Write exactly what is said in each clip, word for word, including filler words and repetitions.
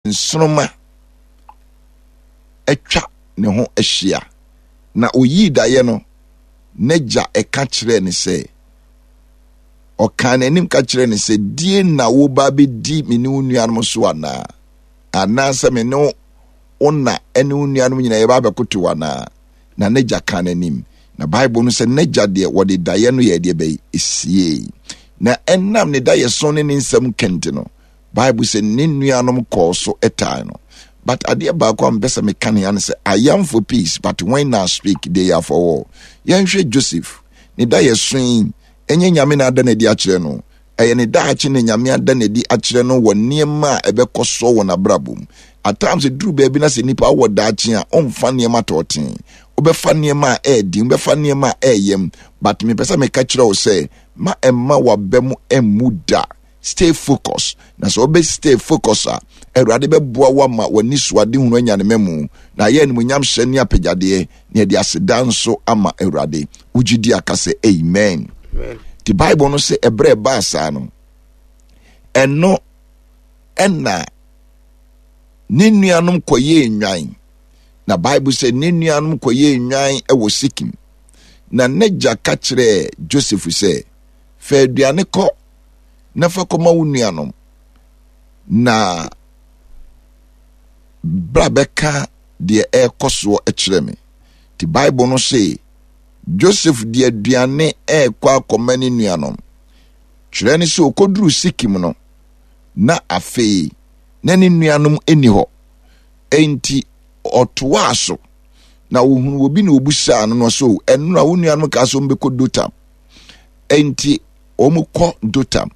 Nsoromma atwa ne ho ahyia. Na oyii daeɛ no, n'agya ka kyerɛɛ no sɛ, ɔkaa n'anim ka kyerɛɛ no sɛ, die na woba bɛdi me ne wo nuanom so anaa? Anaasɛ me ne wo na ne wo nuanom nyinaa yɛba abɛkoto anaa? Na n'agya kaa n'anim. Na Bible no sɛ n'agya deɛ wɔde daeɛ no yɛ deɛ bɛyi esiei. Na ɛnam ne daeɛso ne ne nsɛm kɛnti no, Bible sɛ ne nuanom kɔɔ so taa no. But adeɛ baako a mepɛ sɛ meka ne ya ne sɛ I am for peace but when I speak they are for war. Yɛnhwɛ Joseph ne da yɛ so yi ɛnyɛ Nyame na ada n'adi akyerɛ no ɛyɛ ne daakye na Nyame ada n'adi akyerɛ no wɔ nneɛma a ɛbɛkɔ soɔ wɔ n'abrabɔ mu. At times ɛduru baabi na sɛ nipa wɔ daakye a ɔmfa nneɛma tɔɔten wobɛfa nneɛma a ɛɛden wobɛfa nneɛma a ɛɛyam but mepɛ sɛ meka kyerɛ wo sɛ ma ɛmma waba mu ɛmmu da stay focus na sɛ wobɛ stay focus a awurade bɛboa wo ama w'ani so adehunu anya ne mamu na ayɛ animonyam hyɛ ne apagyadeɛ na yɛde aseda nso ama awurade wogye di aka sɛ amen nti bible no sɛ ɛberɛ ɛbaa saa no ɛno ɛna ne nuanom kɔyɛɛ nnwan na bible sɛ ne nuanom kɔyɛɛ nnwan wɔ sikim na n'agya ka kyerɛɛ joseph sɛ fa aduane kɔ na fa kɔma wo nuanom na bra bɛka deɛ ɛrekɔ soɔ kyerɛ me nti bible no se joseph de aduane ɛrekɔ akɔma ne nuanom kyerɛ ne sɛ ɔkɔduru sikim no na afei na ne nuanom nni hɔ enti ɔtoaa so na ohunu obi na obusaa no no so ɛno na wo nuanom kaa sɛ wɔbɛkɔ dotam enti wɔkɔ Dotam.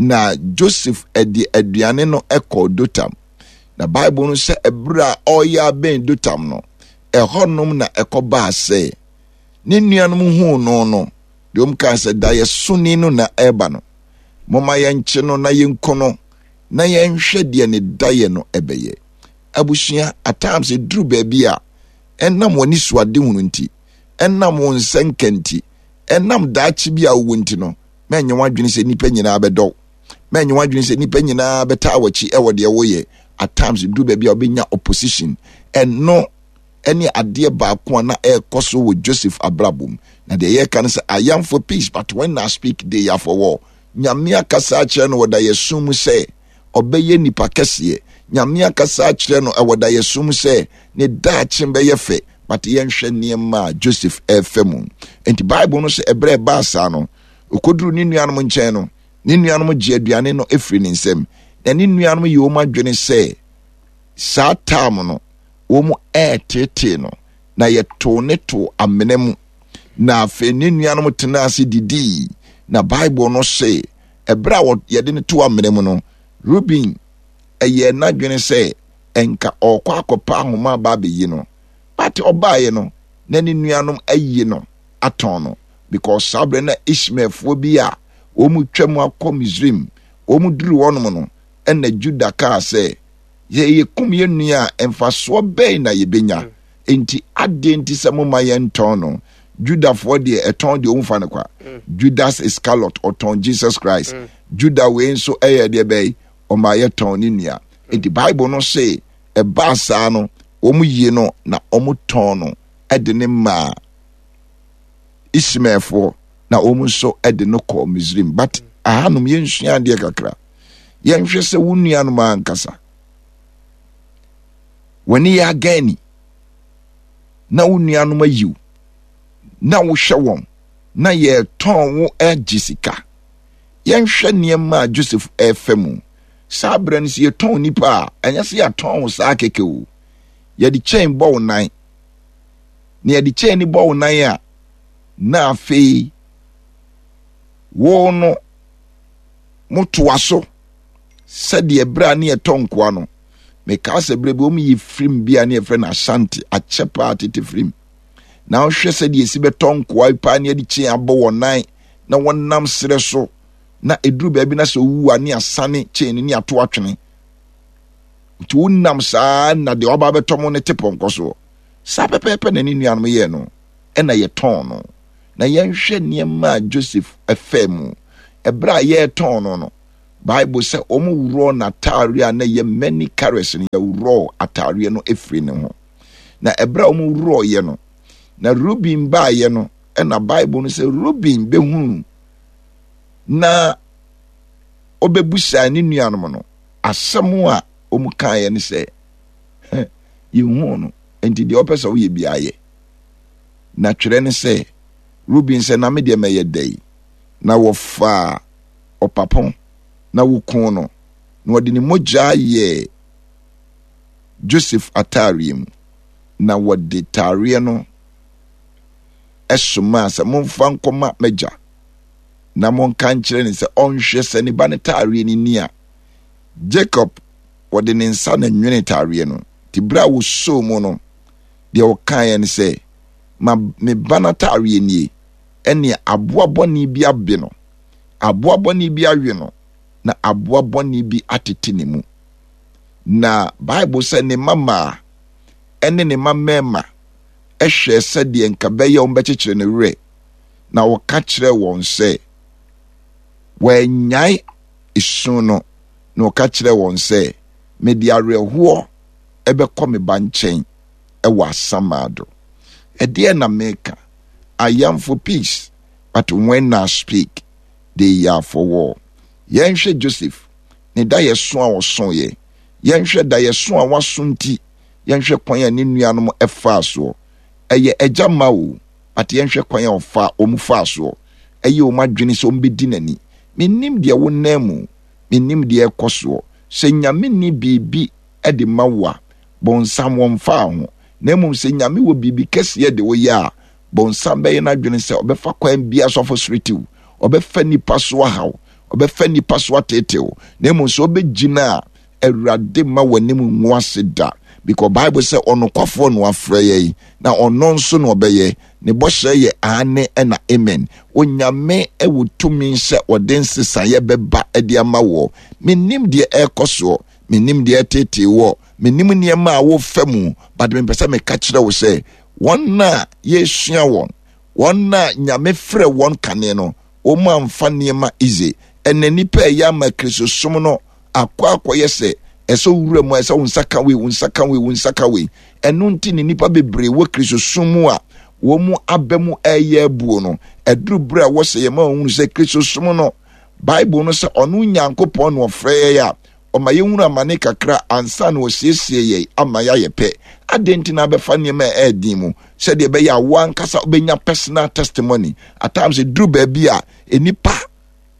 Na Joseph de aduane no kɔɔ Dotam. Na Bible no sɛ ɛberɛ a ɔreyɛ abɛn Dotam no, ɛhɔnom na ɛkɔbaa sɛ ne nuanom huu no no, deɛ wɔn kaa sɛ daeɛsoni no na ɛreba no. Momma yɛnkye no na yɛnku no na yɛnhwɛ deɛ ne daeɛ no ɛbɛyɛ. Abusua, at times ɛduru baabi a ɛnam wɔn anisoadehunu nti, ɛnam wɔn nsɛnka nti, ɛnam daakye bi a wowɔ nti no mɛnyɛ w'adwene sɛ nnipa nyinaa bɛdɔ wo mɛnyɛ w'adwene sɛ nnipa nyinaa bɛtaa w'akyi ɛwɔ deɛ woyɛ at times duru baabi a wobɛnya opposition ɛno ɛne adeɛ baako a na ɛrekɔ so wɔ joseph abrabɔ mu na deɛ yɛreka no sɛ i am for peace but when i speak they are for war nyame akasa akyerɛ no wɔ dayɛso mu sɛ ɔbɛyɛ nipa kɛseɛ nyame akasa akyerɛ no ɛwɔ dayɛso mu sɛ ne daakye bɛyɛ fɛ but yɛnhwɛ nneɛma a joseph ɛrefa mu nti bible no sɛ ɛberɛ ɛbaa saa no ɔkɔduru ne nuanom nkyɛn no ne nuanom gye aduane no firi ne nsam na ne nuanom yɛ wɔn adwene sɛ saa taam no wɔn ɛretetee no na yɛtoo ne too amena mu na afei ne nuanom tenaa ase didii na bible no se ɛberɛ a yɛde no too amena mu no ruben ɛyɛ n'adwene sɛ ɛnka ɔrekɔ akɔpa ahoma aba abɛyi no but ɔbaeɛ no na ne nuanom ayi no atɔn no because saa berɛ na ishmaelfoɔ bi a wɔn twa mu akɔ misrim wɔn duru hɔnom no ɛna juda kaa sɛ yɛ yɛkum yɛn nua a mfasoɔ bɛn na yɛbɛnya mm. nti adeɛ nti sɛ moma yɛntɔn no judafoɔ deɛ ɛtɔn deɛ ɔmfa no kwa mm. judas iscariot ɔtɔn jesus christ mm. juda wei nso ɛyɛ deɛ bɛyi ɔma yɛtɔn ne nua nti bible no se ɛbaa saa no wɔn yie no na wɔn tɔn no de ne maa ismaelfoɔ na wɔn nso de no kɔɔ misrim but ahanom yɛnsua adeɛ kakra yɛnhwɛ sɛ wo nuanom ankasa wɔne yɛ agani na wo nuanom ayiw na wohwɛ wɔn na yɛtɔn wo agye sika yɛnhwɛ nneɛma a joseph ɛrefa mu saa berɛ no sɛ yɛtɔn nipa a ɛnyɛ sɛ yɛatɔn wo saa kɛkɛ o yɛde kyɛn bɔ wo nan na yɛde kyɛn ni bɔ wo nan a na afei wo no motoa so sɛdeɛ berɛ a ne yɛtɔ nkoa no mekaa sɛ berɛ bi wɔn yi firim bi a ne yɛfrɛ no asante akyɛ paa tete firim na wohwɛ sɛdeɛ ɛsi bɛtɔ nkoa paa ne yɛde kyɛn abɔ wɔn nan na wɔnam serɛ so na ɛduru baabi na sɛ owu a ne asane kyɛn no ne ato atwene nti wonam saa na deɛ waba abɛtɔ mo no te pɔnkɔ soɔ saa pɛpɛɛpɛ na ne nuanom yɛɛ no ɛna yɛtɔn no na yɛnhwɛ nneɛma a joseph ɛfɛ mu ɛberɛ a yɛretɔn no no Bible sɛ wɔn worɔɔ n'ataareɛ a na ɛyɛ many colours no, yɛworɔɔ ataareɛ no efiri ne ho. Na ɛberɛ a wɔn worɔɔyɛ no, na Reuben baeɛ no, ɛna Bible no sɛ Reuben bɛhunu na ɔbɛbusaa ne nuanom no asɛm a wɔn kaeɛ no sɛ, yɛhuu no, nti deɛ ɔpɛ sɛ woyɛ biara yɛ. Na twerɛ ne sɛ, Reuben sɛ, na me deɛ mɛyɛ dɛn? Na wɔfaa ɔpapo na wɔkuu no, na wɔde ne mogya yɛɛ Joseph ataareɛ mu, na wɔde taareɛ no somaa sɛ, momfa nkɔma m'agya, na monka nkyerɛ no sɛ ɔnhwɛ sɛ ne ba no taareɛ no ni a. Jacob wɔde ne nsa na nwene taareɛ no, nti berɛ a wɔsoo mu no, deɛ ɔkaeɛ ne sɛ, ma me ba no ataareɛ nie, ɛneɛ aboa bɔne bi abe no, aboa bɔne bi awe no, na aboa bɔne bi atete ne mu. Na Bible sɛ ne mma mmaa ne ne mma mmarima hwɛɛ sɛdeɛ nka bɛyɛ wɔn bɛkyekyere ne werɛ, na wɔka kyerɛɛ wɔn sɛ wɔannyae esu no, na wɔka kyerɛɛ wɔn sɛ, mede awerɛhoɔ ɛbɛkɔ me ba nkyɛn ɛwɔ asamado. Ɛdeɛ na meka, I am for peace, but when I speak, they are for war. Yɛnhwɛ Joseph, ne da yɛ so a ɔsoeɛ. Yɛnhwɛ da yɛ so a waso nti, yɛnhwɛ kwan a ne nuanom ɛfaa soɔ. Ɛyɛ agya ma o, but yɛnhwɛ kwan a ɔfa wɔn faa soɔ. Ɛyɛ wɔn adwene sɛ wɔn bɛdi n'ani. Mennim deɛ wonam mu, mennim deɛ ɛkɔ soɔ. Sɛ Nyame ni biribi de ma wo a, bɔnsam wɔmfaa ho. Na mmom sɛ Nyame wɔ biribi kɛseɛ de wo yɛ a, bɔnsam bɛyɛ n'adwene sɛ ɔbɛfa kwan biara so afɔsoro ɔbɛfa nipa so ahaw, ɔbɛfa nipa so ateetew. Na mmom sɛ ɔbɛgyina a, Awurade ma w'anim ngu ase da. Because Bible sɛ ɔnokwafoɔ na wafrɛ yɛn, na ɔno nso na ɔbɛyɛ. Ne bɔhyɛ yɛ aane ɛna amen. Onyame ɛwɔ tumi sɛ ɔde nsesaeɛ bɛba ɛde ama wɔ. Menim deɛ ɛrekɔ soɔ, menim deɛ ɛtetee wɔ, menim nneɛma a wofa mu, but mepɛ sɛ meka kyerɛ wo sɛ wɔn a yɛsua wɔn, wɔn a Nyame frɛ wɔn kane no, wɔn amfa nneɛma easy. Ɛnɛ nipa ɛyɛ ama Kristosom no akɔ akɔyɛ sɛ ɛsɛ wura mu a ɛsɛ wo nsa ka wei, wo nsa ka wei, wo nsa ka wei. Ɛno nti ne nipa bebree wɔ Kristosom mu a wɔn mu aba mu ɛyɛ abuo no. Ɛduru berɛ a wɔsɛ yɛn ma wɔn hunu sɛ Kristosom no, Bible no sɛ ɔno Nyankopɔn na ɔfrɛ yɛn a ɔma yɛhunu amane kakra ansa na ɔsiesie yɛn ama yɛayɛ pɛ. Adɛn nti na abɛfa nneɛma a ɛyɛ den mu sɛdeɛ ɛbɛyɛ a wo ankasa wobɛnya personal testimony? At times ɛduru baabi a nnipa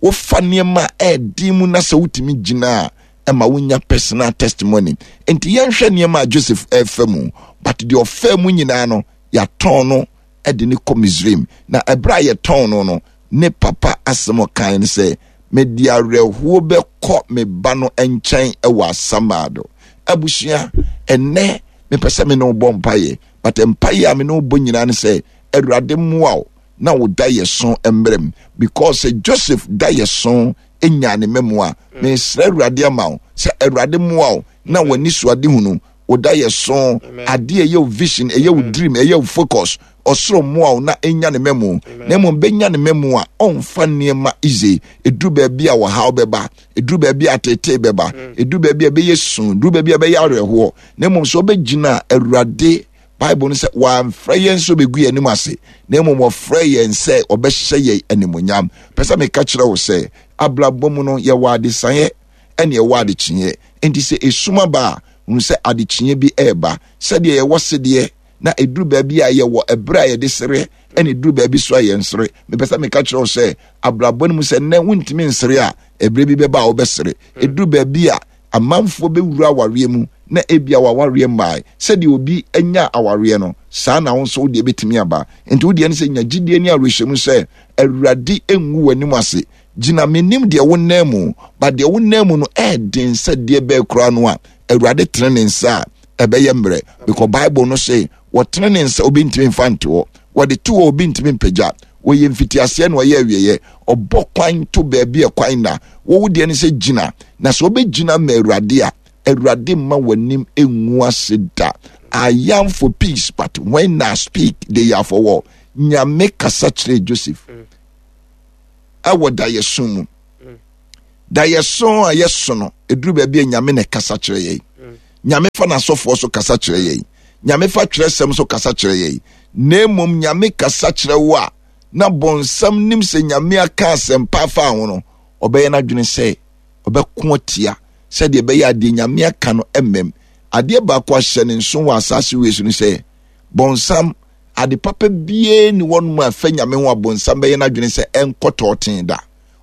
wofa nneɛma a ɛyɛ den mu na sɛ wotumi gyina a ɛma wonya personal testimony. Nti yɛnhwɛ nneɛma a Joseph ɛrefa mu, but deɛ ɔfa mu nyinaa no, yɛatɔn no ɛde ne kɔ Misraim. Na ɛberɛ a yɛtɔn no no, ne papa asɛm ɔkan ne sɛ, mede awerɛhoɔ bɛkɔ me ba no nkyɛn ɛwɔ asamado. Abusua, ɛnɛ mepɛ sɛ me ne wo bɔ mpaeɛ, but mpaeɛ a me ne wo bɔ nyinaa ne sɛ, Awurade mmoa wo na wo da yɛ so mmerɛm. Because sɛ Joseph da yɛ so nya ne mmamu a, mesrɛ Awurade ama wo sɛ Awurade mmoa wo na w'ani so ade hunu, wo da yɛ so, adeɛ ɛyɛ wo vision, ɛyɛ wo dream, ɛyɛ wo focus, ɔsoro mmoa wo na ɛnya ne mmamu. Na mmom bɛnya ne mmamu a, ɔmfa nneɛma easy. Ɛduru baabi a wɔhaw bɛba, ɛduru baabi a atetee bɛba, ɛduru baabi a ɛbɛyɛ su, ɛduru baabi a ɛbɛyɛ awerɛhoɔ. Na mmom sɛ wobɛgyina a, Awurade Bible no sɛ wɔamfrɛ yɛn sɛ ɔbɛgu yɛn anim ase, na mmom wɔfrɛ yɛn sɛ ɔbɛhyɛ yɛn animonyam. Pɛ sɛ meka kyerɛ wo sɛ abrabɔ mu no yɛwɔ adesaeɛ ɛne ɛwɔ adekyeeɛ. Enti sɛ esum aba a, hunu sɛ adekyeeɛ bi ɛreba. Sɛdeɛ yɛwɔ sedeɛ na ɛduru baabi a yɛwɔ ɛberɛ a yɛde sere, ɛne ɛduru baabi so a yɛnsere. Mepɛ sɛ meka kyerɛ wo sɛ abrabɔ no mu sɛ nnɛ wontumi nsere a, ɛberɛ bi bɛba a wobɛsere. Ɛduru baabi a amanfoɔ bɛwura awareɛ mu na ebia wawareɛ mmae. Sɛdeɛ obi anya awareɛ no, saa na wo nso wo deɛ bɛtumi aba. Nti wo deɛ no sɛ nya gyidie ne awerɛhyɛmu sɛ Awurade ngu w'anim ase. Gyina, menim deɛ wo nan mu, ba deɛ wo nan mu no ɛɛden sɛ deɛ bɛɛ koraa no a, Awurade tene ne nsa a ɛbɛyɛ mmerɛ. Because Bible no se wɔtene ne nsa obi ntumi mfa nte hɔ, wɔde to hɔ obi ntumi mpagya. Wɔyɛ mfitiaseɛ na ɔyɛ awieɛ. Ɔbɔ kwan to baabi a kwan na. Wo deɛ no sɛ gyina, na sɛ wobɛgyina ma Awurade a, Awurade mma w'anim ngu ase da. I am for peace, but when I speak, they are for war. Nyame kasa kyerɛ Joseph ɛwɔ daeɛso mu. Da yɛso a yɛso no, ɛduru baabi a Nyame na ɛkasa kyerɛ yɛn. Nyame fa n'asɔfoɔ so kasa kyerɛ yɛn. Nyame fa twerɛsɛm so kasa kyerɛ yɛn. Na mmom Nyame kasa kyerɛ wo a, na bɔnsam nim sɛ Nyame aka asɛmpa afa ho no, ɔbɛyɛ n'adwene sɛ ɔbɛko atia sɛdeɛ ɛbɛyɛ adeɛ Nyame aka no mmam. Adeɛ baako ahyɛ ne nso wɔ asaase wei so no sɛ, bɔnsam ade papa biara ni wɔn mu a ɛfɛ Nyame ho a bɔnsam bɛyɛ n'adwene sɛ ɛnkɔ tɔɔten da.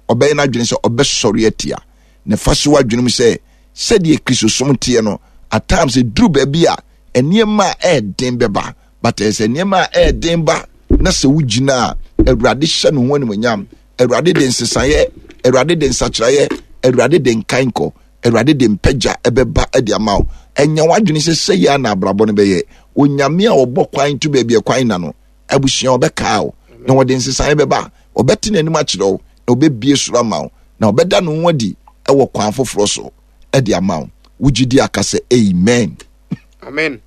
Ɔbɛyɛ n'adwene sɛ ɔbɛsɔre atia. Na fa so adwene mu sɛ sɛdeɛ Kristosom teɛ no, at times ɛduru baabi a nneɛma a ɛɛden bɛba, but ɛyɛ sɛ nneɛma a ɛɛden ba na sɛ wogyina a, Awurade hyɛ ne ho animuonyam. Awurade de nsesaeɛ, Awurade de nsakyeraeɛ, Awurade de nkankɔ, Awurade de mpagya ɛbɛba de ama wo. Ɛnya w'adwene sɛ sɛ yɛ na abrabɔ no bɛyɛ. Onyame a ɔbɔ kwan to baabi a kwan na no, abusua ɔbɛkaa wo na wɔde nsesaeɛ bɛba. Ɔbɛte n'anim akyerɛ wo na ɔbɛbie soro ama wo na ɔbɛda ne ho adi ɛwɔ kwan foforɔ so ɛde ama wo. Wogye di aka sɛ amen. Amen.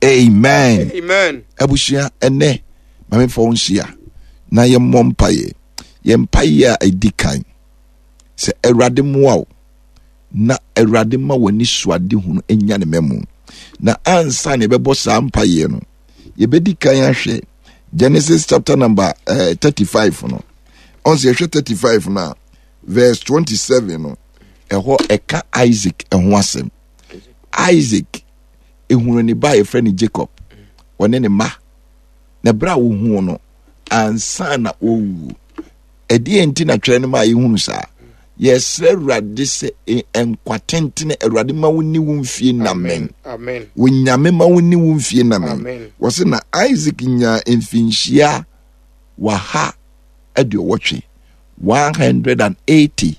Amen. Amen. Abusua, ɛnɛ ma memfa wo nhyia na yɛmmɔ mpaeɛ. Yɛn mpaeɛ a ɛdi kan sɛ Awurade mmoa wo na Awurade ma w'ani so ade hunu nya ne mmamu. Na ansa na yɛbɛbɔ saa mpaeɛ no, yɛbɛdi kan ahwɛ Genesis chapter number eh, thirty-five no. Ɔn sɛ yɛhwɛ thirty-five no a, verse twenty-seven no, ɛhɔ ɛka Isaac ɛho asɛm. Isaac ehunu ne ba a yɛfrɛ no Jacob, ɔne ne mma. Na berɛ a wohuu no ansa na ɔwu. Ɛdeɛ nti na twerɛ no ma yɛhunu saa? Yɛsrɛ Awurade sɛ nkwa tentene Awurade ma wo ni wo mfie namen. Wo Nyame ma wo ni wo mfie namen. Wɔse na Isaac nyaa mfinhyia waha aduɔwɔtwe, one hundred and eighty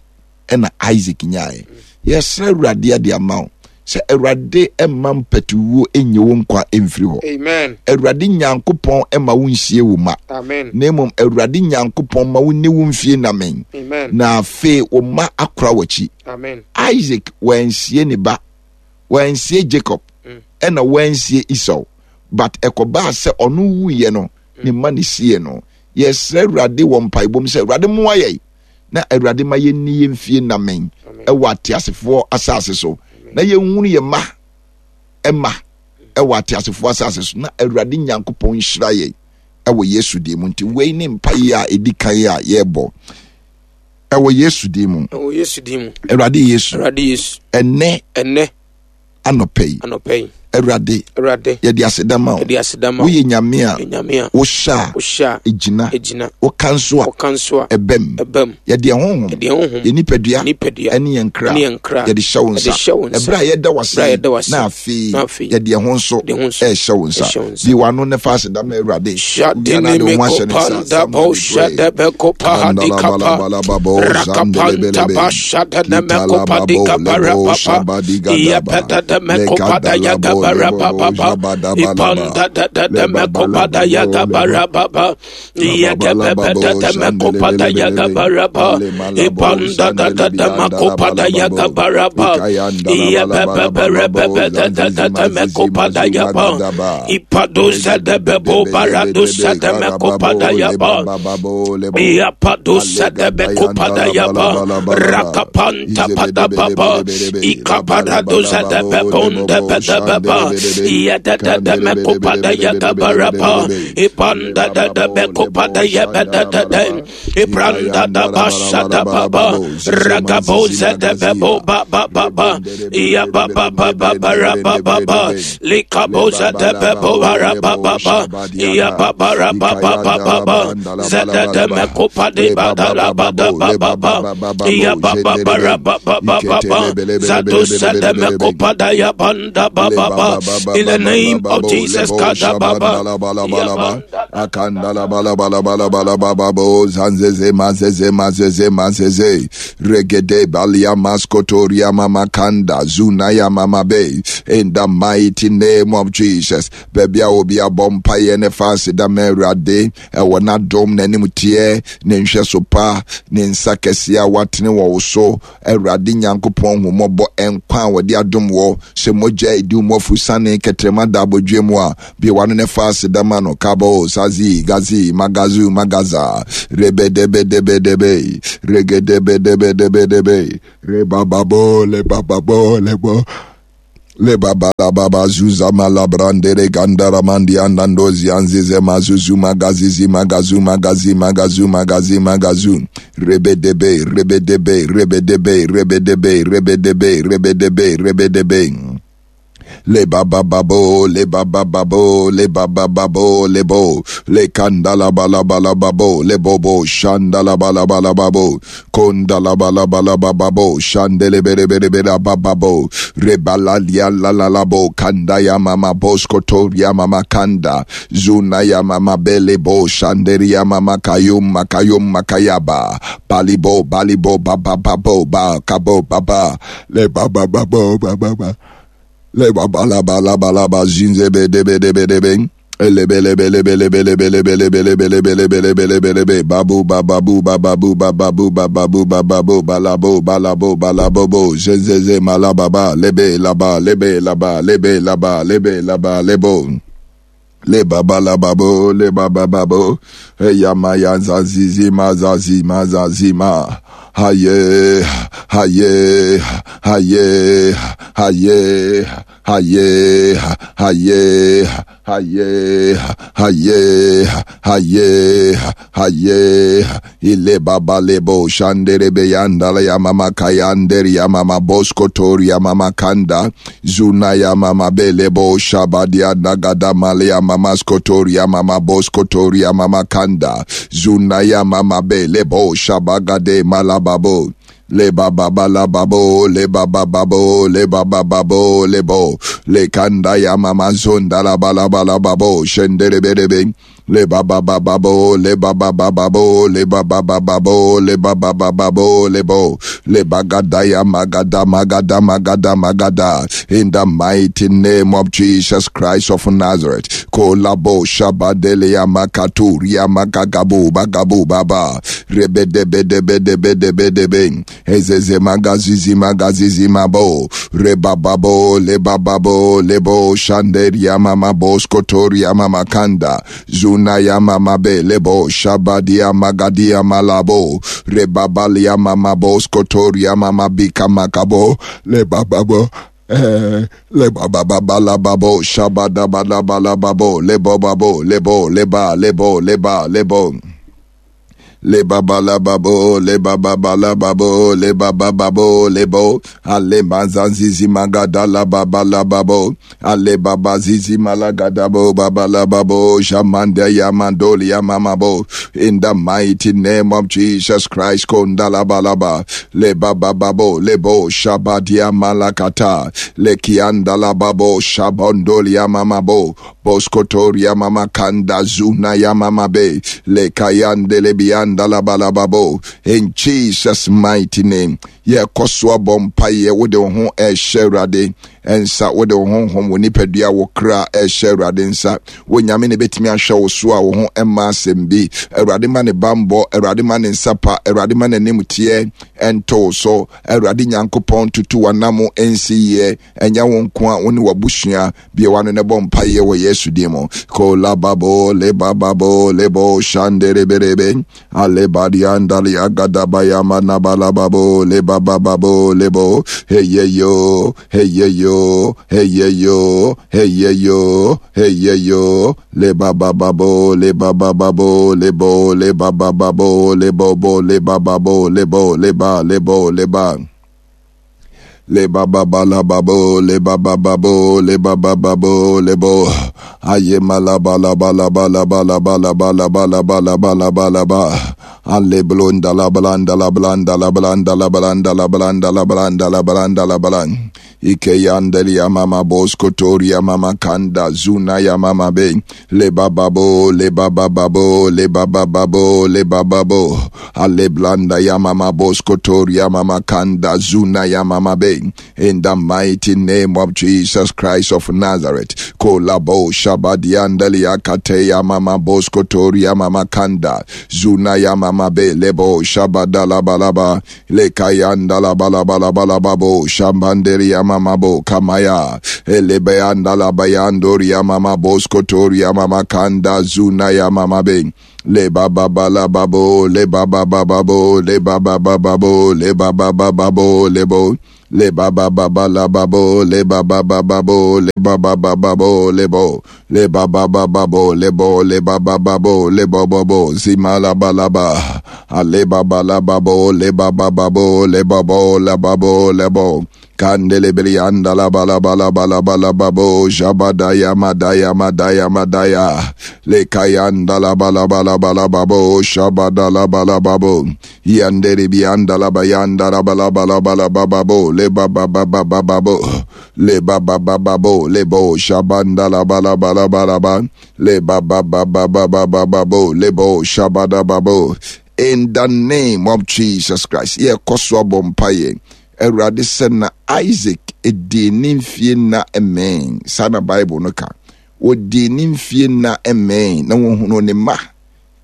ɛna Isaac nyaeɛ. Yɛsrɛ Awurade ade ama wo sɛ Awurade mma mpatuwuo nnye wo nkwa mfiri hɔ. Amen. Awurade Nyankopɔn mma wo nsie wo mma. Amen. Na mmom Awurade Nyankopɔn ma wo nni wo mfie namen. Amen. Na afei wo mma akora w'akyi. Amen. Isaac wansie ne ba, wansie Jacob, ɛna wansie Esau. But ɛkɔbaa sɛ ɔno wuiɛ no, ne mma ne sie no. Yɛsrɛ Awurade wɔ mpaebɔ mu sɛ Awurade mmoa yɛn na Awurade ma yɛnni yɛn fie namen ɛwɔ ateasefoɔ asase so, na yɛnhunu yɛn mma ɛma ɛwɔ ateasefoɔ asase so, na Awurade Nyankopɔn nhyira yɛn ɛwɔ Yesu din mu. Nti wei ne mpaeɛ a ɛdi kan a yɛrebɔ ɛwɔ Yesu din mu. Ɛwɔ Yesu din mu. Awurade Yesu. Awurade Yesu. Ɛnɛ. Ɛnɛ. Anɔpa yi. Anɔpa yi. Awurade. Awurade. Yɛde aseda ma wo. Yɛde aseda ma wo. Woyɛ Nyame a. Nyame a. Wohyɛ a. Wohyɛ a. Egyina. Egyina. Woka nso a. Woka nso a. Ɛbɛm. Ɛbɛm. Yɛde ɛho honhom. Yɛde ɛho honhom. Yɛ nipadua. Nipadua. Ɛne yɛn kra. Ɛne yɛn kra. Yɛde hyɛ wo nsa. Yɛde hyɛ wo nsa. Ɛberɛ a yɛda wo ase. Ɛberɛ a yɛda wo ase. Na afei. Na afei. Yɛde ɛho nso. Yɛde ɛho nso. Ɛhyɛ wo nsa. Ɛhyɛ wo nsa. Bi w'ano ne fa aseda ma Awurade. Shadini meko panda bo shade beko pahadi kapa. Rakapanta ba shade ne meko padi kapa rapapa. Iyepeta de meko pada ya gaba rapapa. Ipanda de de de meko pada ya gaba rapapa. Iyekepete de meko pada ya gaba rapa. Ipanda de de de meko pada ya gaba rapa. Iyepepepe repepe de de de de meko pada ya pa. Ipadusa de bebo baradusa de meko pada ya pa. Iyapadusa de beko pada ya pa. Rakapanta pada papa. Ikaparadusa de bebonde de beba. Iyede de de meko pada ya gaba rapa. Ipanda de de beko pada ya be de de de. Ibranda da basha da baba. Rakabosa de bebo ba ba ba ba. Iya ba ba ba ba ba ra ba ba ba. Likabosa de bebo ba ra ba ba ba. Iya ba ba ra ba ba ba ba ba. Zede de meko padi ba da la ba da ba ba ba. Iya ba ba ba ra ba ba ba ba ba. Zadusa de meko pada ya banda ba ba ba. In the name of Jesus, kada ba ba. Iya banda. Akanda la ba la ba la ba la ba la ba ba bo zanzeze mazeze mazeze mazeze regede balia maskotoria mama kanda zunaya mama be. In the mighty name of Jesus, baby a obi abɔ mpaeɛ ne fa aseda ma Awurade ɛwɔ n'adom n'anim teɛ ne nhwɛso pa ne nsa kɛseɛ a watene wɔ wo so. Awurade Nyankopɔn hu mmɔbɔ nkwa a wɔde adom wɔ sɛ mogya edi wo mmɔfo sane kɛtrɛma da abɔdwe mu a bie wano ne fa aseda ma no kabo zazi gazi magazu magaza rebedebedebedebe regedebedebedebe rebababo lebababo lebo Le baba la baba zuza malabrandere gandara mandi andandozi anzize mazuzu magazizi magazu magazi magazu magazi magazu rebedebe rebedebe rebedebe rebedebe rebedebe rebedebe rebedebe Le baba babo, le baba babo, le baba babo, le bo, le kandala bala bala babo, le bobo, shandala bala bala babo, kondala bala bala bababo, shandele bere bere bere bababo, rebala lia la la la bo, kanda ya mama bosko ya mama kanda, zuna ya mama bele bo, shanderi ya mama kayum makayum makayaba, balibo balibo baba babo ba kabo baba, le baba babo baba ba. Le ba la ba la ba la ba zinze be de be de be de be ele be le be le be le be le be le be le be le be le be le be le be le be le be babu bababu bababu bababu bababu bababu balabo balabo balabo bo zezeze malababa lebe laba lebe laba lebe laba lebe laba lebo le baba la babo le baba babo eyama ya zazizi mazazi mazazi ma haye haye haye haye haye haye haye haye haye haye ile baba lebo shandere beyandala ya mama kayanderi ya mama bosko tori ya mama kanda zuna ya mama belebo shabadia nagada male ya mama skotori ya mama bosko tori ya mama kanda zuna ya mama belebo shabagade malababo le baba bala babo le baba babo le baba babo le bo le kanda ya mama zonda la bala bala babo shendere berebe le baba baba bo le baba baba bo le baba baba bo le baba baba bo le bo le bagada ya magada magada magada magada in the mighty name of Jesus Christ of Nazareth kolabo shabadele ya makaturi ya makagabu bagabu baba rebedebedebedebedebe ezeze magazizi magazizi mabo rebababo lebababo lebo shanderia mama boskotoria mama kanda zuna ya mama belebo shabadia magadia malabo rebabalia mama boskotoria mama bika makabo lebababo Eh, le baba baba la babo shabada bala bala babo lebo babo lebo leba lebo leba lebo le baba la babo le baba bala babo le baba babo le bo ale manzanzizi magada la baba la babo ale baba zizi malagada bo baba la babo jamande yamandoli yamamabo in the mighty name of Jesus Christ kondala balaba le baba babo le bo shabadia malakata le kianda la babo shabondoli yamamabo boskotoria mama kanda zuna yamamabe le kayande le bianda Dalabababo in Jesus mighty name. Ye koswa bompaye wo de ho e hyerade ensa wo de honhom wo nipadua wo kra e hyerade nsa wo nyame ne betimi ahwɛ wo so a wo ho emma asɛm bi Awurade ma ne bambɔ Awurade ma ne nsa pa Awurade ma n'anim teɛ ɛnto so Awurade Nyankopɔn tutu wanam ensi yie ɛnyɛ wo nko a wo ne wabusua bie wano ne bɔ mpaeɛ wɔ Yesu din mu kolababo lebababo lebo shandereberebe alebadiandali agadabayama nabalababo lebababo lebo heyeyo heyeyo heyeyo heyeyo heyeyo lebababo lebababo lebo lebababo lebobo lebababo lebo leba lebo leba le baba bala babo le baba babo le baba babo le bo aye mala bala bala bala bala bala bala bala bala bala bala ba ale blonda la blanda la blanda la blanda la blanda la blanda la blanda la blanda la blanda ike yandeli ya mama bosko tori ya mama kanda zuna ya mama be le baba bo le baba babo le baba babo le baba bo ale blanda ya mama bosko tori ya mama kanda zuna ya mama be in the mighty name of Jesus Christ of Nazareth kolabo shabadiandeli akate ya mama bosko tori ya mama kanda zuna ya mama be lebo shabadala balaba le kayanda la balabala balababo shambandeli ya mama bo kamaya elebayanda la bayandoria mama boskotoria mama kanda zuna ya mama be le baba bala babo le baba baba bo le baba baba bo le baba baba bo le bo le baba baba la babo le baba baba bo le baba baba bo le bo le baba baba bo le bo le baba babo le bo bo bo zima la ba la ba ale baba la babo le baba babo le babo la babo le bo kandele belianda la ba la ba la ba la ba la babo jabadaya madaya madaya madaya le kayanda la ba la ba la ba la babo shabada la ba la babo yandere bianda la bayanda la ba la ba la ba la ba babo le ba ba ba ba ba ba bo le ba ba ba ba bo le bo shabanda la ba la ba la ba la ba le ba ba ba ba ba ba ba ba bo le bo shabada ba bo. In the name of Jesus Christ, ye koswa bompaye. Awurade sɛ na Isaac edi ne mfie na mmɛn saa na Bible no ka odi ne mfie na mmɛn na wɔhunu ne mma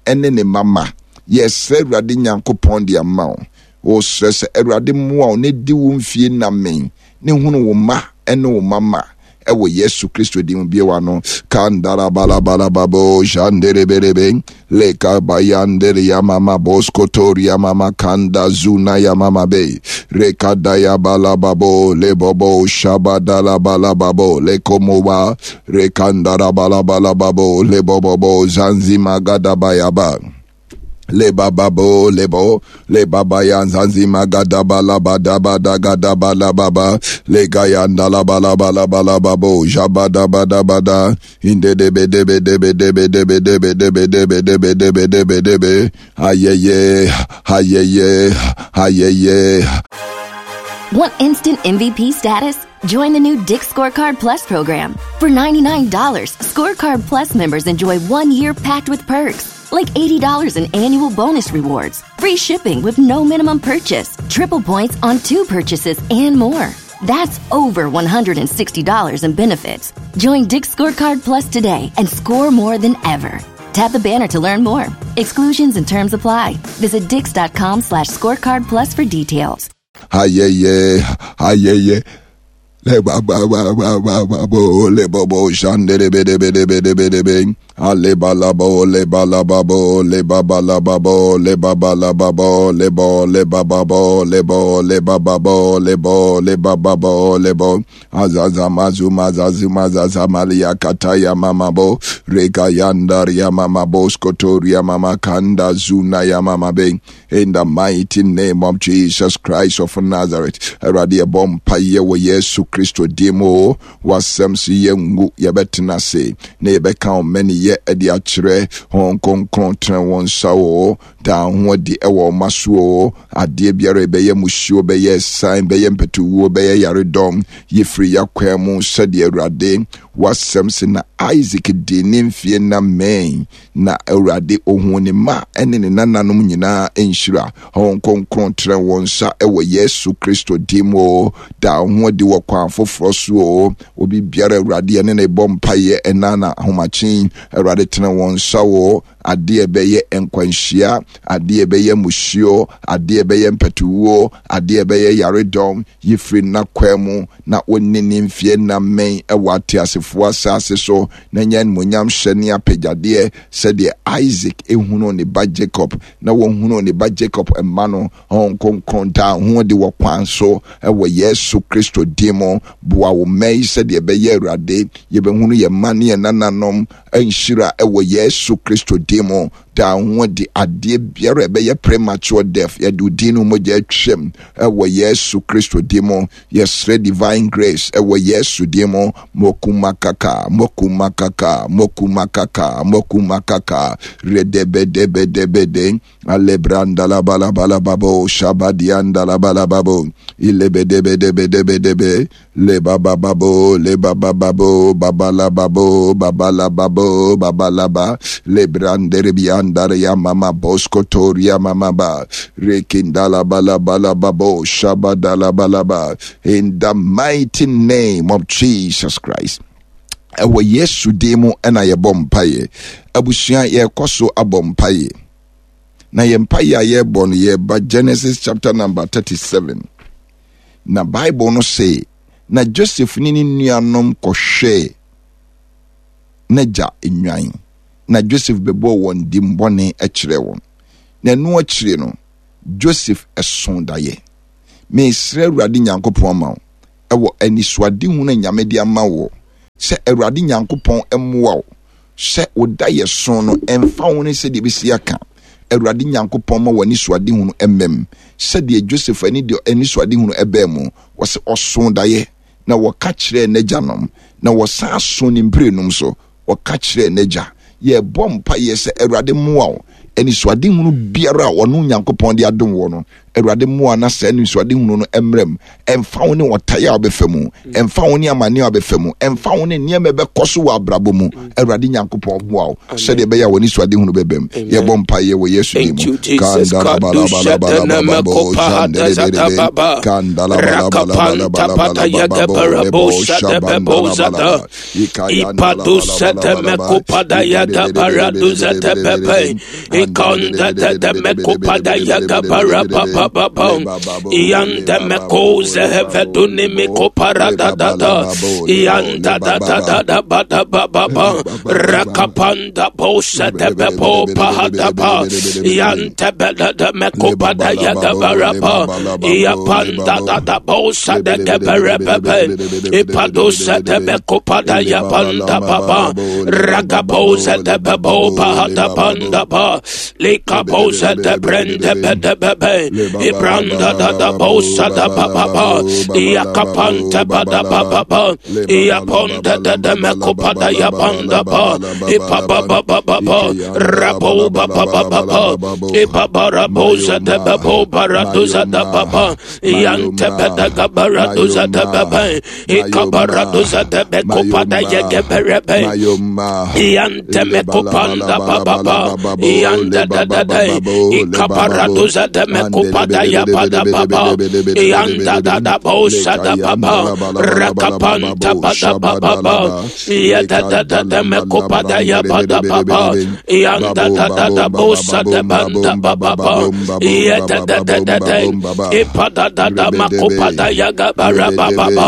ɛne ne mama. Yɛsrɛ Awurade Nyankopɔn de ama wo. Wɔsrɛ sɛ Awurade mmoa wo ne di wo mfie na mmɛn ne hunu wo mma ɛne wo mama ɛwɔ Yesu Kristo din mu biewa no kandara balabalababo jandereberebe leka bayandere ya mama boskotoria mama kanda zuna ya mama be rekada ya balababo lebobo shabadala balababo lekomowa rekandara balabalababo lebobobo zanzima gadabayaba le baba bo le bo le baba yanzanzi magada bala bada bada gada bala baba le gayanda la bala bala bala babo jabada bada bada inde debe debe debe debe debe debe debe debe debe debe debe debe ayeye ayeye ayeye. Want instant M V P status? Join the new Dick's Scorecard Plus program. For ninety-nine dollars, Scorecard Plus members enjoy one year packed with perks, like eighty dollars in annual bonus rewards, free shipping with no minimum purchase, triple points on two purchases, and more. That's over one hundred sixty dollars in benefits. Join Dick's Scorecard Plus today and score more than ever. Tap the banner to learn more. Exclusions and terms apply. Visit dicks.com slash scorecard plus for details. Ayeye, ayeye. Le ba ba ba ba ba ba bo le bo bo shandere be de be de be de be de be ale ba la bo le ba la ba bo le ba ba la ba bo le ba ba la ba bo le bo le ba ba bo le bo le ba ba bo le bo le ba ba bo le bo azaza mazu mazazu mazaza malia kataya mama bo reka yandar ya mama bo skotoria mama kanda zuna ya mama be. In the mighty name of Jesus Christ of Nazareth, Awurade yɛbɔ mpaeɛ wɔ Yesu Kristo din mu o, wasɛm so yɛngu yɛbɛtena ase na yɛbɛka wo mmaniyɛ de akyerɛ Honhom Kronkron tena wɔn nsa o, daa ho adi ɛwɔ ɔma so o, adeɛ biara ɛbɛyɛ musuo, bɛyɛ san, bɛyɛ mpɛtuwuo, bɛyɛ yaredɔm, yɛfiri yɛakwan mu sɛdeɛ Awurade wasɛm se na Isaac di ne mfie na mmɛn na Awurade ohun ne mma ɛne ne nananom nyinaa nhyira. Honhom Kronkron tena wɔn nsa ɛwɔ Yesu Kristo din mu o, daa ho adi wɔ kwan foforɔ so o, obi biara Awurade ɛne ne bɔ mpaeɛ ɛna na ahomakyen Awurade tena wɔn nsa o, adeɛ bɛyɛ nkwanhyia, adeɛ bɛyɛ musuo, adeɛ bɛyɛ mpɛtuwuo, adeɛ bɛyɛ yaredɔm, yɛfiri n'akwan mu na wɔnni ne mfie na mmɛn ɛwɔ ateasefoɔ asase so na nyɛ animuonyam hyɛ ne apagyadeɛ sɛdeɛ Isaac ehunu ne ba Jacob na wɔhunu ne ba Jacob mma no. Honhom Kronkron daa ho adi wɔ kwan so ɛwɔ Yesu Kristo din mu. Boa wo mma yi sɛdeɛ ɛbɛyɛ Awurade yɛbɛhunu yɛn mma ne yɛn nananom nhyira ɛwɔ Yesu Kristo din mu. Daa ho adi adeɛ biara ɛbɛyɛ premature death yɛde wo din no mogya atwam ɛwɔ Yesu Kristo din mu. Yɛsrɛ divine grace ɛwɔ Yesu din mu. Mokumakaka mokumakaka mokumakaka mokumakaka redebedebedebede alebranda la bala bala babo shabadianda la bala babo ilebedebedebedebe le baba babo le baba babo baba la babo baba la babo baba la ba le brandere biandare ya mama boskotoria mama ba rekindala bala bala babo shabadala bala ba. In the mighty name of Jesus Christ. Ɛwɔ Yesu din mu ɛna yɛbɔ mpaeɛ. Abusua yɛkɔ so abɔ mpaeɛ. Na yɛn mpaeɛ a yɛbɔ no yɛba Genesis chapter number thirty-seven. Na Bible no say Na Joseph ne ne nuanom kɔhwɛɛ n'agya nnwan, na Joseph bɛbɔɔ wɔn dimmɔne kyerɛɛ wɔn. Na ɛno akyire no, Joseph ɛso daeɛ. Mesrɛ Awurade Nyankopɔn ama wo ɛwɔ anisoadehunu a Nyame de ama wo, sɛ Awurade Nyankopɔn mmoa wo sɛ wo daeɛ so no ɛmfa wo ne sɛdeɛ ɛbɛsi aka. Awurade Nyankopɔn ma w'anisoadehunu mmam sɛdeɛ Joseph ani de anisoadehunu ɛbɛɛ mu. Wɔsɛ ɔso daeɛ na wɔka kyerɛɛ n'agyanom, na wɔsan so ne mprɛnum so wɔka kyerɛɛ n'agya. Yɛbɔ mpaeɛ sɛ Awurade mmoa wo. Anisoadehunu biara a ɔno Nyankopɔn de adom wɔ no, Awurade mmoa na saa anisoadehunu no mmerɛ mu. Ɛmfa wo ne ɔtaeɛ a wobɛfa mu, ɛmfa wo ne amanneɛ a wobɛfa mu, ɛmfa wo ne nneɛma ɛbɛkɔ so wɔ abrabɔ mu. Awurade Nyankopɔn mmoa wo sɛdeɛ ɛbɛyɛ a w'anisoadehunu bɛba mu. Yɛbɔ mpaeɛ wɔ Yesu din mu. Ikonda de mekopada yaga para pa pa pa Ianda mekoze heveduni mikopara da da da Ianda da da da da ba da ba ba ba Rakapanda bosa de bepo pahada pa Iante bela de mekopada yaga para pa Iapanda da da bosa de gebere pepe Ipadusa de mekopada yapanda pa pa Ragabosa de bebo pahada panda pa Likabosa de brende bede bebe Ibranda da da bosa da pa pa pa Iakapanta pa da pa pa pa Iaponda da da mekopada yapanda pa Ipaba ba ba ba ba Rabo ba ba ba ba ba Ipaba rabosa de bebo baraduza da pa pa Iante bede gabaraduza de bebe Ikabaraduza de bekopada yegeberebe Iante mekopanda pa pa pa Ianda da da da Ikaparaduza de mekopada yapada pa pa Ianda da da bosa da pa pa Rakapanta pa da pa pa pa Ianda da da da mekopada yapada pa pa Ianda da da da bosa da banda pa pa pa Ianda da da da da Ipada da da makopada yagabara pa pa pa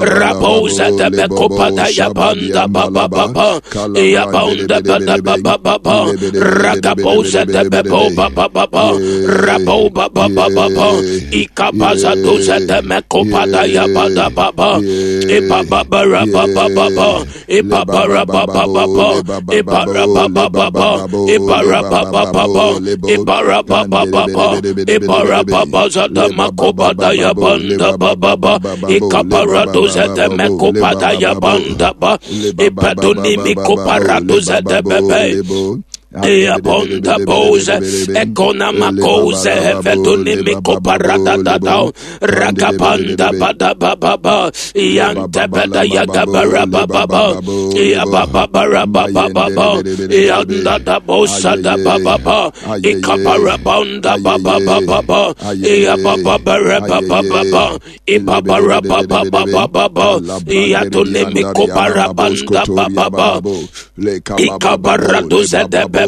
Rabosa de mekopada yapanda pa pa pa pa Iabonda pa da pa pa pa pa Rakabosa de bebo pa pa pa pa Rabo pa pa pa pa pa Ikapaza doza de mekopada yapada pa pa Ipabara pa pa pa pa Ipabara pa pa pa pa Ipara pa pa pa pa Ipara pa pa pa pa Ipara pa pa pa pa Ipara pa pa zada makopada yapanda pa pa pa Ikapara doza de mekopada yapanda pa Ipaduni mikopara doza de bebe Eabonda boze ekona makoze heveduni mikoparada da da rakapanda bada baba ba yante beda yagabara baba ba yababa baba baba yanda da bosa da baba ba ikapara banda baba baba ba yababa baba baba ibabara baba baba baba yatuni mikopara banda baba ba ikabara doze de bebe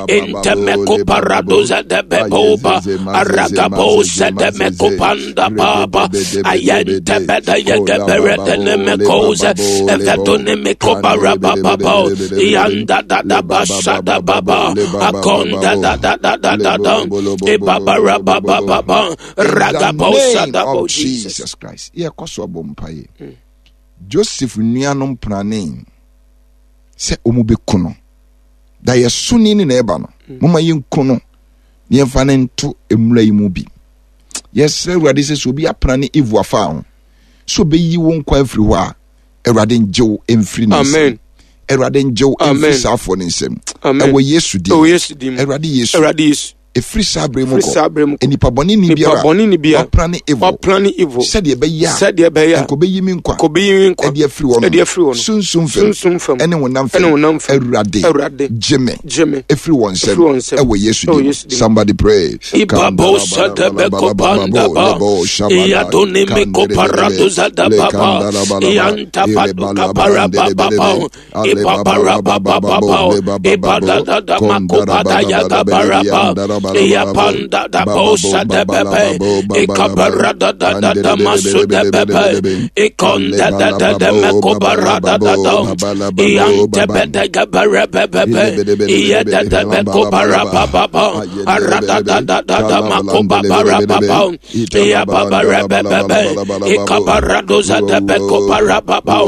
intemeko paradoza de beboba aragabosa de mekopanda baba ayente beda yegebere de nemekoze evetone mekobara baba yanda da da basha da baba akonda da da da da da da ibabara baba baba ragabosa da bo Jesus Christ. Ye koso abompaye Joseph nuanom prane se omu bekuno da yɛso ni ne na ɛba no moma yɛnku no na yɛmfa ne nto mmura yi mu bi. Yɛsrɛ Awurade sɛ sɛ obi apena ne Eve afa ho sɛ obɛyi wo nkwa afiri hɔ a, Awurade ngye wo mfiri ne nsam. Awurade ngye wo mfiri saa afoɔ ne nsam. Ɛwɔ Yesu din. Awurade Yesu. Ɛfiri saa berɛ mu kɔ nnipa bɔne ni biara wapra ne evil sɛdeɛ ɛbɛyɛ a nka ɔbɛyi me nkwa ɛde afiri hɔ no sunsum fam ɛne honam fam. Awurade gye me ɛfiri wɔn nsam ɛwɔ Yesu din mu. Somebody pray. Ibabosa de bekopanda ba Iadoni mikoparaduza da baba Ianta paduka para baba Ipapara baba baba Ipada da da makopada yaga baraba Yapanda da bosa de bebe, Ikabarada da da da masu de bebe, Ikonda da da da mekobarada da da, Iante bede gabere bebe, Iyeda de mekobara baba, Arada da da da da makobara baba, Iyababara bebe, Ikabaradoza de bekobara baba,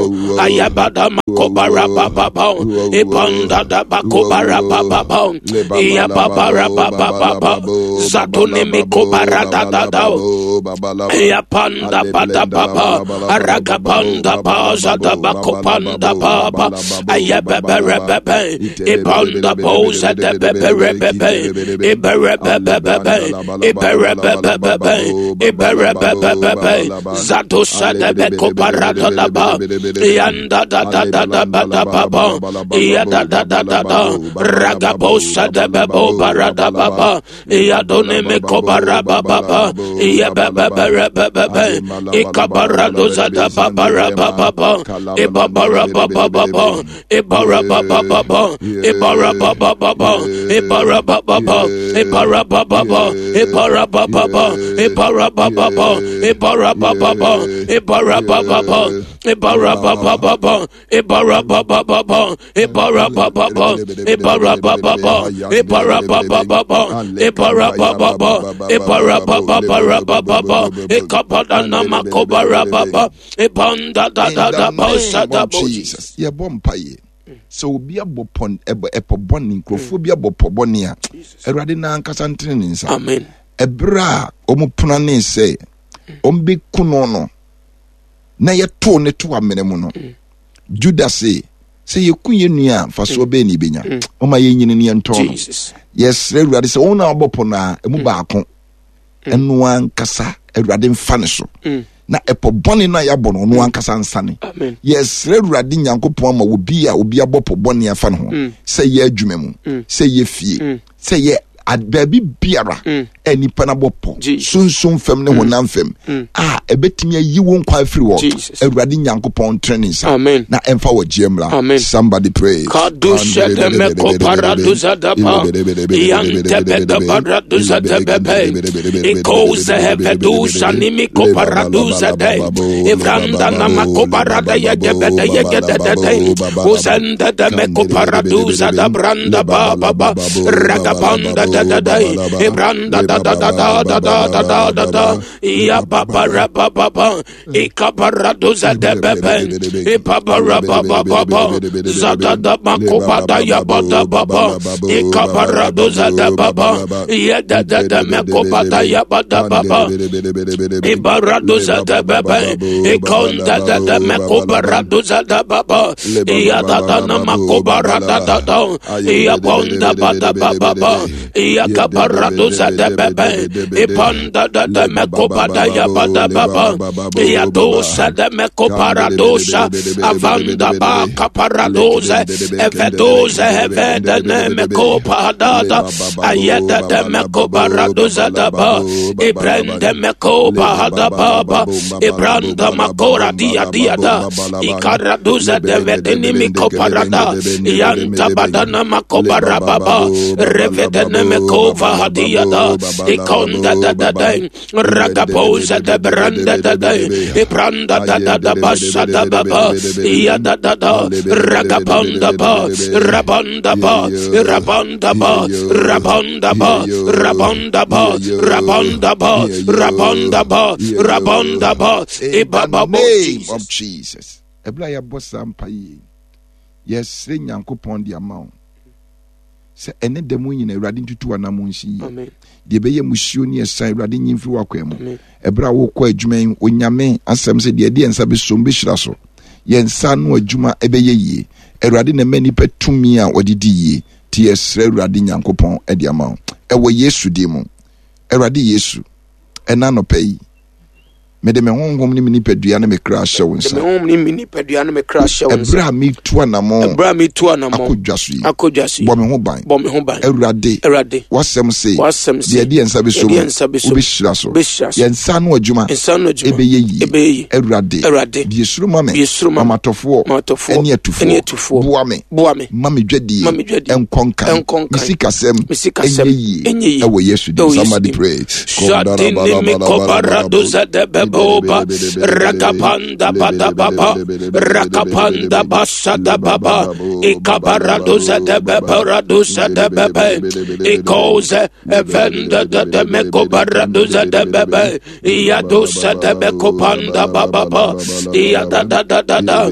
Ayabada makobara baba, Ibanda da bakobara baba, Iyababara baba, Zatuni mikobara da da da, Iyapanda bada baba, Aragapanda baza da bakopanda baba, Ayabebebe, Ibanda boza de bebe, Iberebebe, Iberebebe, Iberebebe, Zatusa de bekobara da ba, Yanda da da da da ba da baba, Yada da da da da, Ragabosa de bebo barada baba, Yadone mekobara baba, Yabebebebe, Ikabaradoza da babara baba, Ibabara baba baba, Ibara baba baba, Ibara baba baba, Ibara baba baba, Ibara baba baba, Ibara baba baba, Ibara baba baba, Ibara baba baba, Ibara baba baba, Ibara baba baba, Ibara baba baba, Ibara baba baba, Ibara baba baba, Ibara baba baba, Ibara baba baba, Ibara baba baba baba, Ikapada makobara baba, Ibanda da da da bosa da Jesus. Yɛbɔ mpaeɛ sɛ obi abɔ pɔn ɛbɔ ɛpɔ bɔne, nkurɔfoɔ bi abɔ pɔ bɔne a, Awurade na ankasa ntene ne nsa. Amen. Ɛberɛ a wɔn pono ne sɛ wɔn bɛku no no, na yɛtoo ne to amena mu no, Judas se sɛ yɛku yɛn nua a mfasoɔ bɛyɛ ne yɛbɛnya, ɔma yɛnyini ne yɛntɔn no. Yɛsrɛ Awurade sɛ wɔn a wɔbɔ pɔ no a ɛmu baako ɛno ankasa Awurade mfa ne so, na ɛpɔ bɔne no a yɛabɔ no ɔno ankasa nsane. Yɛsrɛ Awurade Nyankopɔn ama obi a obi abɔ pɔ bɔne afa ne ho, sɛ yɛ adwuma mu, sɛ yɛ fie, sɛ yɛ baabi biara a nipa no abɔ pɔ, sunsun fam ne honam fam a ɛbɛtumi ayi wo nkwa afiri hɔ. Awurade Nyankopɔn ntene ne nsa na ɛmfa wɔ gyeɛ mmra. Somebody pray. Kadusha de meko paraduza da ba, Yante beda paraduza de bebe, Ikoze hevedusha nimiko paraduza de, Ivranda namako parada yegebe de yegede de de, Uzende de meko paraduza da branda ba ba ba, Ragabanda da da da, Ibranda da da da da da da da da da, Ya ba ba ra ba ba ba, Ikabaraduza de bebe, Ibabara ba ba ba ba, Zada da makobada ya ba da ba ba, Ikabaraduza da ba ba, Ya da da da makobada ya ba da ba ba, Ibaraduza da bebe, Ikonda da da makobaraduza da ba ba, Ya da da na makobarada da da, Ya bonda ba da ba ba ba, Yakabaraduza de bebe, Ipanda da da mekobada ya ba da ba ba, Yadosa de mekoparadosa, Avanda ba kaparadoze, Evedoze hevede ne mekopadada, Ayeda de mekobaradoza da ba, Ibrende mekobahada ba ba, Ibranda makora dia dia da, Ikaradoza de vedeni mikoparada, Yanta badana makobara baba, Revedene mekova hadia da, Ikonda da da da, Ragapoza de branda da da, Ibranda da da da basa da baba, Yada da da, Ragapanda ba, Rabanda ba, Rabanda ba, Rabanda ba, Rabanda ba, Rabanda ba, Rabanda ba, Rabanda ba, In the name of Jesus. Ebla ya bossa mpaye. Yes, Nyankopɔn de ama wo. Sɛ ɛne da mu nyina Awurade ntutu anam nsi yie. Deɛ ɛbɛyɛ musuo ne ɛsan Awurade nyi mfiri w'akwan mu. Ɛberɛ a wokɔ adwuma yi, Onyame asɛm sɛ deɛ ɛde yɛn nsa bɛsom bɛhyira so. Yɛn nsa ano adwuma ɛbɛyɛ yie. Awurade na ɛma nnipa tumi a wɔde di yie. Nti yɛsrɛ Awurade Nyankopɔn de ama wo. Ɛwɔ Yesu din mu. Awurade Yesu, ɛna anɔpa yi, Mede me honhom ne me nipadua ne me kra hyɛ wo nsa. Me honhom ne me nipadua ne me kra hyɛ wo nsa. Ɛberɛ a metu anammɔn. Ɛberɛ a metu anammɔn. Akɔ dwa so yi. Akɔ dwa so yi. Bɔ me ho ban. Bɔ me ho ban. Awurade. Awurade. W'asɛm se. W'asɛm se. Deɛ ɛde yɛn nsa bɛso mu. Deɛ nsa bɛso mu. Wobɛhyira so. Wobɛhyira so. Yɛn nsa ano adwuma. Nsa ano adwuma. Ɛbɛyɛ yie. Ɛbɛyɛ yie. Awurade. Awurade. Bue soro ma me. Bue soro ma me. Mamatɔfoɔ. Mamatɔfoɔ. Ɛne atufoɔ. Ɛne atufoɔ. Boa me. Boa me. Ma me dwadie. Ma me dwadie. Ɛnkɔ nkan. Ɛnkɔ nkan. Me sikasɛm. Me sikasɛm. Ɛnyɛ yie. Ɛnyɛ yie. Ɛwɔ Yesu din. Ɛwɔ Yesu Somebody din. pray. Shadini mikobaraduza de beboba rakapanda bada baba rakapanda basada baba ikabaraduza de bebaraduza de bebe ikoze evenda de de mikobaraduza de bebe iyadusa de bekopanda baba ba iyada da da da da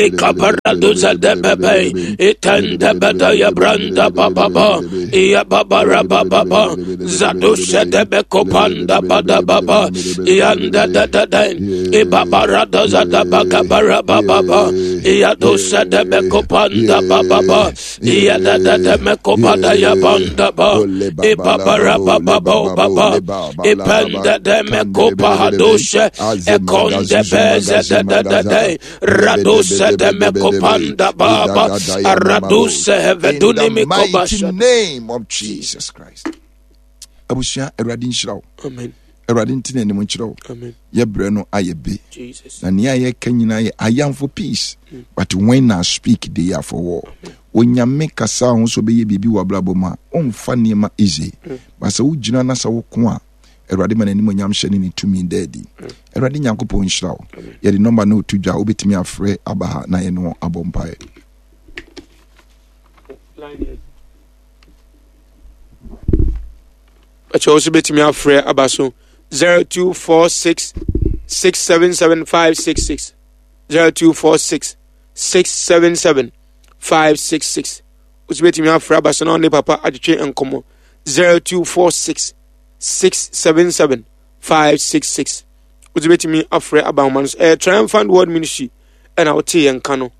ikabaraduza de bebe itende beda ya branda baba ba iyababa baba zadusha de bekopanda bada baba yanda da da da ibabara da da bakabara baba iyadusa de bekopanda baba ba iyada da da mekopada ya banda ba ibabara baba baba ipanda de mekopa hadusha ekonde beze da da da da radusa de mekopanda baba aradusa heveduni mikobasha. In the mighty name of Jesus Christ. Abusua Awurade nhyira wo. Amen. Awurade nti na anim nkyerɛ wo. Amen. Yɛbrɛ no ayɛ be. Jesus. Na nea yɛka nyinaa yɛ I am for peace. Mm. But when I speak, they are for war. Onyame kasa ho so bɛyɛ biribi wɔ abrabɔ mu a ɔmfa nneɛma easy. Mm. But sɛ wogyina na sɛ woko a Awurade ma n'anim onyam hyɛ ne ne tumi da adi. Awurade Nyankopɔn nhyira wo. Yɛde nɔmba no to dwa wobɛtumi afrɛ aba ha na yɛne wɔn abɔ mpaeɛ. Ɛkyɛ wo so bɛtumi afrɛ aba so zero two four six six seven seven five six six zero two four six six seven seven five six six. Wo so bɛtumi afrɛ aba so na ɔne papa atwetwe nkɔmmɔ zero two four six six seven seven five six six. Wo so bɛtumi afrɛ aba ahoma no so. Ɛyɛ Triumphant World Ministry ɛna wote yɛn ka no.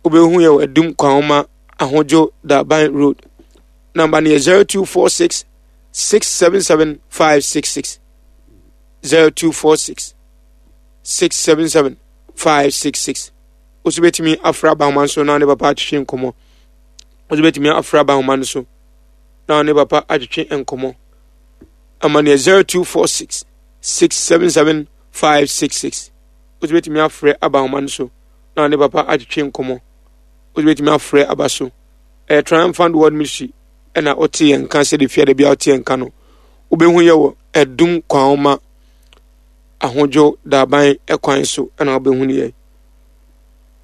Wobɛhu yɛ wɔ Adum Kwanhoma Ahodwo Daban Road. Number no yɛ zero two four six six seven seven five six six zero two four six six seven seven five six six. Wo so bɛtumi afra abahoma nso na ne papa atwetwe nkɔmmɔ. Wo so bɛtumi afra abahoma no so na ne papa atwetwe nkɔmmɔ. Ama no yɛ zero two four six six seven seven five six six. Wo so bɛtumi afrɛ abahoma no so na ne papa atwetwe nkɔmmɔ. Wo so bɛtumi afrɛ aba so. Ɛyɛ Triumphant World Ministry ɛna ɔte yɛn nka sɛde fiade bi a ɔte yɛn nka no. Wobɛhu yɛ wɔ Adum Kwanhoma Ahodwo Daban ɛkwan so ɛna wobɛhu ne yɛ.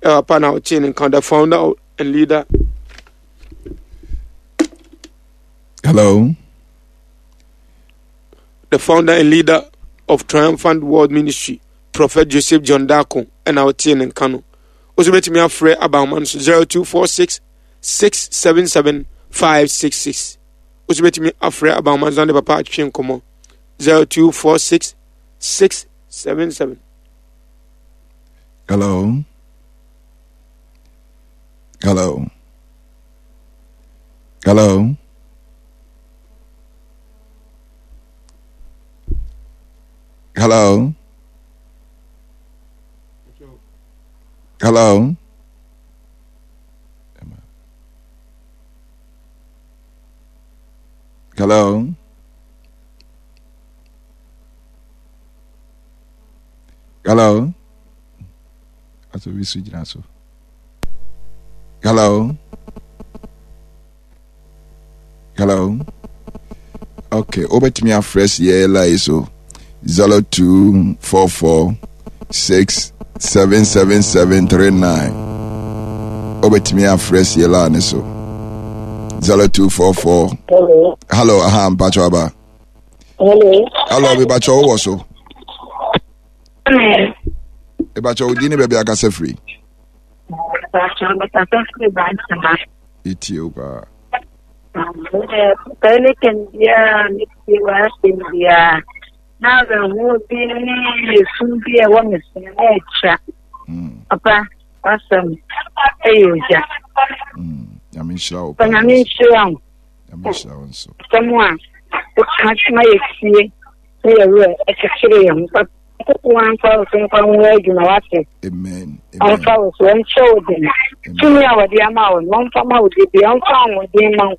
Ɛwɔ pa na ɔte ne nka, the founder and leader. Hello. The founder and leader of Triumphant World Ministry, Prophet Joseph John Darko, ɛna ɔte ne nka no. Wo so bɛtumi afrɛ abahoma no so zero two four six six seven seven five six six. Wo so bɛtumi afrɛ abahoma no so na ne papa atwetwe nkɔmmɔ zero two four six six seven seven. Hello. Hello. Hello. Hello. Hello. Hello. Hello. Aso bi so gyina so. Hello. Hello. Okay, obetumi afrɛ yɛ line so zero two four four six seven seven seven three nine. Obetumi afrɛ yɛ line so zero two four four. Hello. Hello, aha, mpacho aba. Hello. Hello, mebacho wo so. Hello. Mebacho odi ne baabi akasa firi. Mpacho mekasa firi Bantama. Etie wo paa. Pɛne kɛnbia metie w'asɛm biara. Na awerɛhoɔ bi ne esu bi a ɛwɔ me so na ɛtwa. Papa, w'asɛm ɛyɛ ogya. Nyame nhyira wo. Papa, Nyame nhyira wo. Nyame nhyira wo nso. Asɛm a woka ma yɛtie. Ne yɛ werɛ ɛkyekyere yɛn ho. Papa Nyankopɔn amfa wo so mfa ho adwuma wate. Amen. Ɔmfa wo so ɔnhyɛ wo den. Tumi a wɔde ama wo no ɔmfa ma wo de bia ɔmfa ahoɔden ma wo.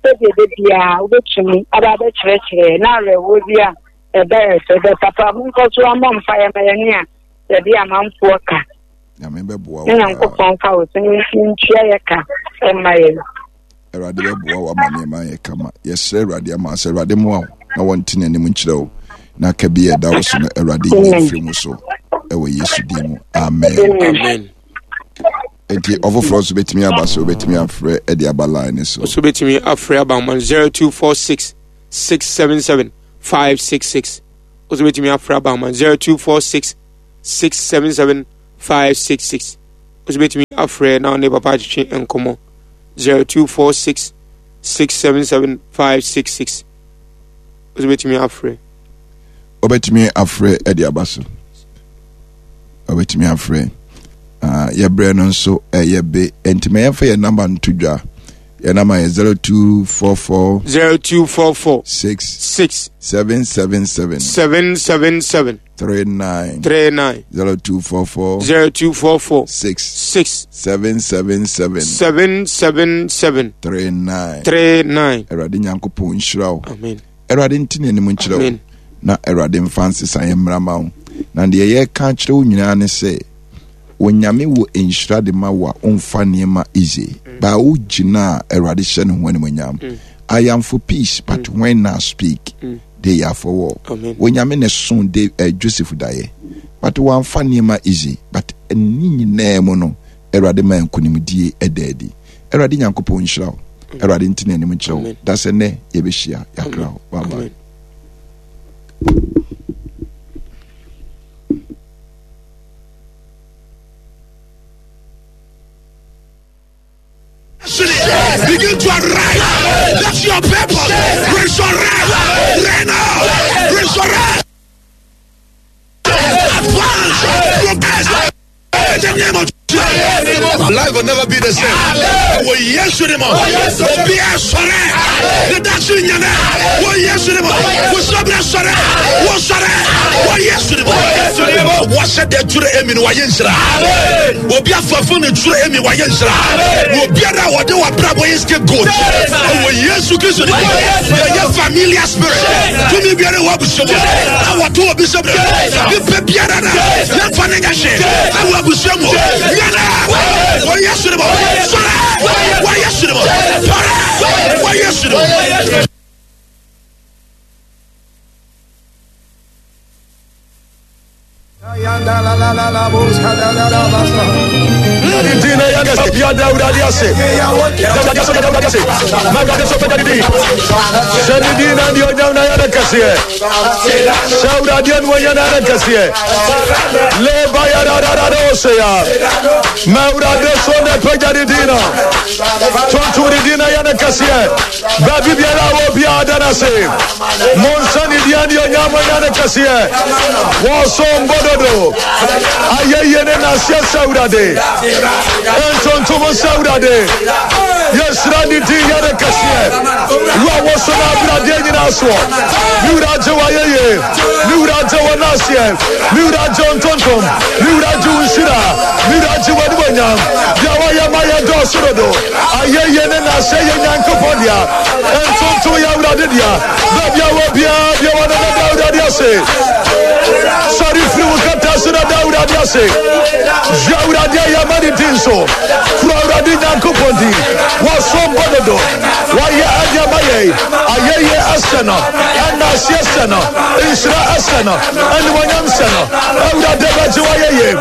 Sɛdeɛ da biara wobɛtumi aba abɛkyerɛkyerɛ na awerɛhoɔ bi a ɛbɛyɛ sɛ bɛ papa monkɔ so ammɔ mpaeɛ ma yɛne a yɛde amanfoɔ ka. Nyame bɛboa wo. Ne Nyankopɔn mfa wo so ne ntua yɛ ka ɛma yɛn. Awurade bɛboa wo ama nneɛma ayɛ kama. Yɛsrɛ Awurade ama sɛ Awurade mmoa wo na wɔnte n'anim nkyerɛ wo na ka bi a ɛda wo so no Awurade yi mfiri mu so ɛwɔ Yesu din mu. Amen. Amen. Nti ɔfoforɔ nso bɛtumi aba so wobɛtumi afrɛ ɛde aba line ne so. Nso bɛtumi afrɛ aba ma zero two four six six seven seven five six six. Nso bɛtumi afrɛ aba ma zero two four six six seven seven five six six. Nso bɛtumi afrɛ na ɔne papa atwetwe nkɔmmɔ zero two four six six seven seven five six six. Nso bɛtumi afrɛ. Wobɛtumi afrɛ ɛde aba so. Wobɛtumi afrɛ. Uh, yɛbrɛ no nso ɛyɛ be nti ma yɛmfa yɛn namba nto dwa. Yɛn namba yɛ zero two four four zero two four four six six seven seven seven seven seven seven three nine three nine zero two four four zero two four four six six seven seven seven seven seven seven three nine three nine. Awurade Nyankopɔn nhyira wo. Amen. Awurade nti n'anim nkyerɛ wo. Amen. Na Awurade mfa nsesaeɛ mmra ma wo. Na deɛ yɛreka akyerɛ wo nyinaa ne sɛ Onyame wɔ nhyira de ma wo a ɔmfa nneɛma easy. Mm. Ba wo gyina a Awurade hyɛ ne ho animonyam. Mm. I am for peace, but mm. when I speak, mm. they are for war. Amen. Onyame ne so de uh, Joseph daeɛ. But wɔamfa nneɛma easy. But ne nyinaa mu no, Awurade ma nkonimdie ɛda adi. Awurade Nyankopɔn nhyira wo. Awurade nti n'anim nkyerɛ wo. Amen. Da sɛ nnɛ yɛbɛhyia. Yɛakra wo. Bye bye. Amen. Begin to arise. That's your purpose. Resurrect. Reign. Resurrect. Advance. Progress. In the name of Jesus. Life will never be the same. Wɔ Yesu ni mu. Obi asɔre. Ne dasi nyane. Wɔ Yesu ni mu. Wosɔbira sɔre. Wosɔre. Wɔ Yesu ni mu. Wɔhyɛ dɛ turu emi ni wɔyɛ nsira. Obi afɔfo ne turu emi wɔyɛ nsira. Obiara a wɔde wɔ abrabɔ yɛ scapegoat. Wɔ Yesu Kristo ni mu. Yɛyɛ familiar spirit. Tumi biara wɔ abusua mu. Na wɔto obi sɛ bere. Nipa biara na yɛmfa ne nyɛ hwee. Ɛwɔ abusua mu. Nyane. Wɔ Yesu ni mu. Sɔre. Wɔ Yesu ni mu. Sɔre. Wɔ Yesu ni mu. Sorry, free kata so na da Awurade ase. Yɛ Awurade a yɛma ne din so. Kura Awurade Nyankopɔn din. Wɔsom bɔ dodo. Wɔyɛ adeɛ ma yɛn. Ayɛyie ɛsɛ no. Ɛna aseɛ sɛ no. Nhyira ɛsɛ no. Animuonyam sɛ no. Awurade bɛgye w'ayɛyie.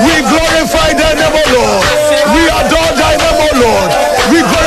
We glorify thy name, O Lord. We adore thy name, O Lord. We glorify